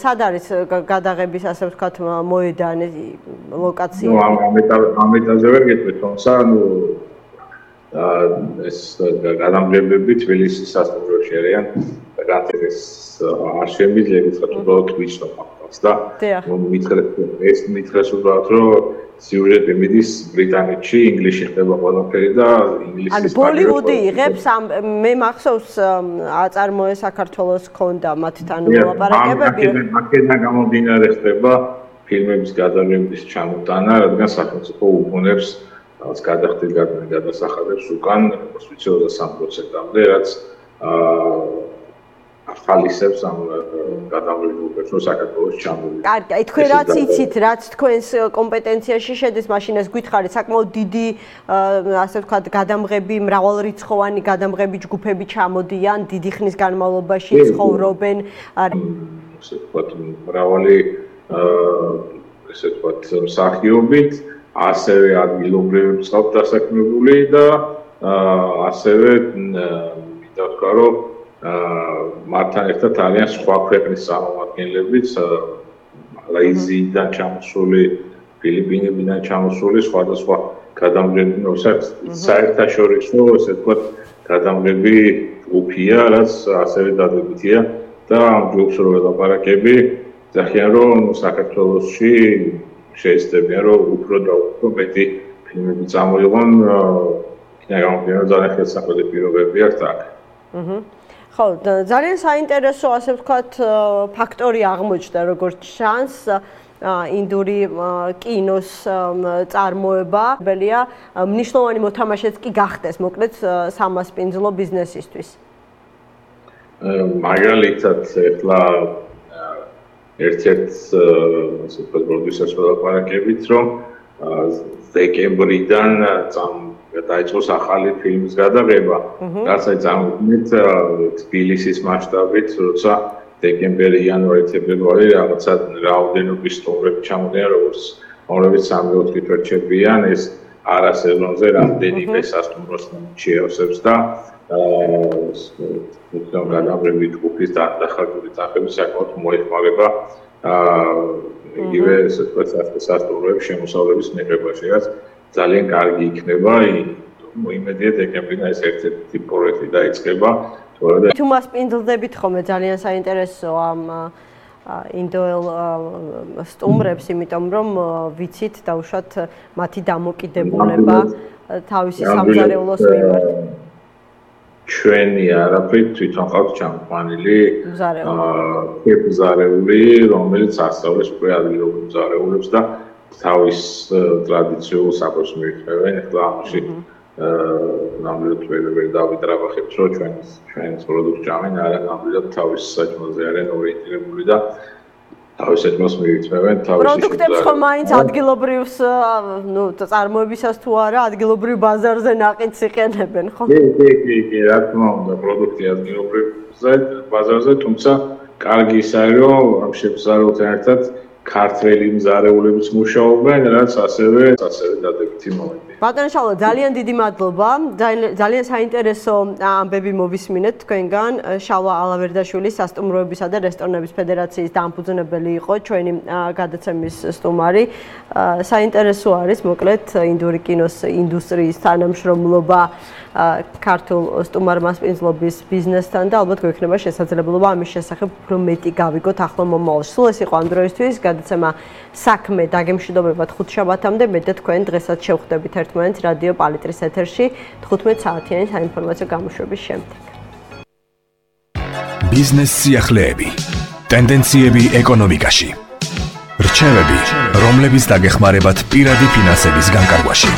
სად არის გადაღების ასე ვთქვათ მოედანი, ლოკაცია? ამ ეტაპზე ვერ გეტყვით, თუმცა ეს გადამღებები თბილისის სასტუმროში არიან და განთების არ შემიძლია ვთქვათ უბრალოდ ვიჩნო ფაქტს და მითხრეს უბრალოდ რომ სიუჟეტი მიდის ბრიტანეთში, ინგლისში ხდება ყველაფერი და ინგლისის ანუ ბოლივუდი იღებს მე მახსოვს აწარმოე საქართველოს ქონდა მათთან მოლაპარაკებები. აქედან გამომდინარე ხდება ფილმების გადაღების ჩამოტანა, რადგან სახელმწიფო უგონებს რაღაც გადახდილ გადასახადებს უკან, როგორც ვიცი 23%-მდე, რაც ახალისებს ამ გადაღებებს რომ საქართველოს ჩამოვიდეს. კარგი, აი თქვენ რაც იცით, რაც თქვენს კომპეტენციაში შედის, მაშინ ეს გითხარით, საკმაოდ დიდი ასე ვთქვათ, გადამღები, მრავალრიცხოვანი გადამღები ჯგუფები ჩამოდიან, დიდი ხნის განმავლობაში ცხოვრობენ. ასე ვთქვათ, მრავალი ესე ვთქვათ, მსახიობით, ასევე ადგილობრივი მსხალ დასაქმებული და ასევე მინდა ვთქვა, რომ მათთან ერთად არიან სხვა ქვეყნის წარმომადგენლებიც, მალაიზიიდან ჩამოსული, ფილიპინებიდან ჩამოსული სხვადასხვა გადამღები, საერთაშორისო, ესე ვთქვათ, გადამღები ჯგუფია, რაც ასევე დადებითია და ამ ჯგუფს რო ველაპარაკები, ძახიან რომ საქართველოში შეეცდებიან რომ უფრო და უფრო მეტი ფილმები წამოიღონ, იქნება ძალიან ხელსაყრელი პირობები აქვს აქ. ხო, ძალიან საინტერესო ასე ვთქვათ ფაქტორი აღმოჩნდა როგორც ჩანს ინდური კინოს წარმოება, ბელია მნიშვნელოვანი მოთამაშეც კი გახდეს, მოკლედ სამასპინძლო ბიზნესისთვის. მაგალითად, ახლა ერთ-ერთ ასე ვთქვათ პროდიუსერს ველაპარაკებით, რომ დეკემბრიდან დაიწყოს ახალი ფილმის გადაღება, რაც აი წარმოიდგინეთ თბილისის მასშტაბით, როცა დეკემბერი, იანვარი, თებერვარი რაღაცა რაოდენობის სტუმრები ჩამოდიან, რომლებიც 3-4 თვით რჩებიან, ეს არა სეზონზე რამდენიმე სასტუმროს შეავსებს და გადაღები ჯგუფის დახარჯული თანხები საკმაოდ მოეხმარება იგივე ესე ვთქვათ სასტუმროების შემოსავლების მიღებაში, რაც ძალიან კარგი იქნება, იმედია დეკემბრიდან ეს ერთ-ერთი პროექტი დაიწყება. თუ მასპინძლდებით ხოლმე ძალიან საინტერესოა ამ ინდოელ სტუმრებს, იმიტომ რომ ვიცით დაუშვათ მათი დამოკიდებულება თავისი სამზარეულოს მიმართ. ჩვენი არაფრით თვითონ ყავთ ჩამყვანილი მზარეული, რომელიც ასწავლებს უკვე ადგილობრივ მზარეულებს და თავის ტრადიციულ საკვებს მიირთმევენ. ახლა ამაში ნამდვილად ვერ დავიტრაბახებთ, რომ ჩვენს პროდუქტს ჭამენ, არა ნამდვილად თავის საჭმელზე არიან ორიენტირებული და თავის საჭმელს მიირთმევენ. პროდუქტებს ხომ მაინც ადგილობრივს, წარმოებისას თუ არა, ადგილობრივ ბაზარზე ნაყიდს იყენებენ, ხო? კი, რა თქმა უნდა, პროდუქტი ადგილობრივ ბაზარზე, თუმცა კარგი ის არის, რომ ამ შემზარულთან ერთად ქართველი მზარეულებიც მუშაობენ, რაც ასევე დადებითი მომენტია. ბატონო შალვა, ძალიან დიდი მადლობა. ძალიან საინტერესო ამბები მოვისმინეთ თქვენგან. შალვა ალავერდაშვილი, სასტუმროებისა და რესტორნების ფედერაციის დამფუძნებელი იყო ჩვენი გადაცემის სტუმარი. საინტერესო არის, მოკლედ, ინდური კინოს ინდუსტრიის თანამშრომლობა ქართულ სტუმარ-მასპინძლობის ბიზნესთან და ალბათ გვექნება შესაძლებლობა ამის შესახებ უფრო მეტი გავიგოთ ახლო მომავალში. სულ ეს იყო ამ დროისთვის. გადაცემა საქმე დაგემშვიდობებათ ხუთშაბათამდე. მე და თქვენ დღესაც შევხვდებით ერთმანეთს რადიო პალიტრის ეთერში 15 საათიანი საინფორმაციო გამოშვების შემდეგ. ბიზნეს სიახლეები, ტენდენციები ეკონომიკაში, რჩევები, რომლებიც დაგეხმარებათ პირადი ფინანსების განკარგვაში.